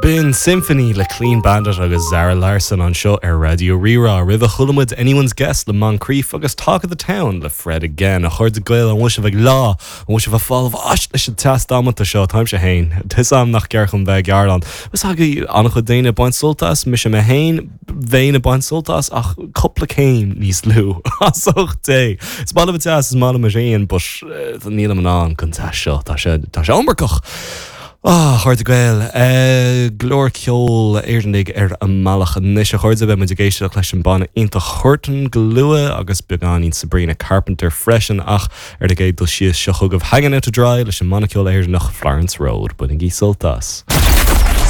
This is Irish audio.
B'in Symphony le Clean Bandit agus Zara Larsson anseo ar Raidió Rí-Rá. Roimhe chuala muid Anyone's Guess le Moncrief agus Talk of the Town le Fred Again. A chairde Gael, an bhfuil sibh ag leá? An bhfuil sibh ag fáil bháis leis an teas damanta seo? Táimse féin. Tá 'fhios a'm nach ceart dom bheith ag gearán. Is agaibh an-chuid daoine ag baint sult as, mise mé féin, bheinn ag baint sult as ach cúpla céim níos lú. As ucht Dé! Is maith liom an teas, is maith liom an ghrian, but nílim in ann don teas seo. Tá sé, tá sé iomarcach! Ah, a chairde Gael, go leor ceol Éireannaigh ar an mbealach anois, a chairde. Beidh muid ag éisteacht leis an banna iontach Huartan go luath agus beagáinín Sabrina Carpenter freisin ach ar an gcéad dul síos seo chugaibh Hanging Out to Dry leis an mbanna ceoil Éireannach Florence Road. Bainigí sult as.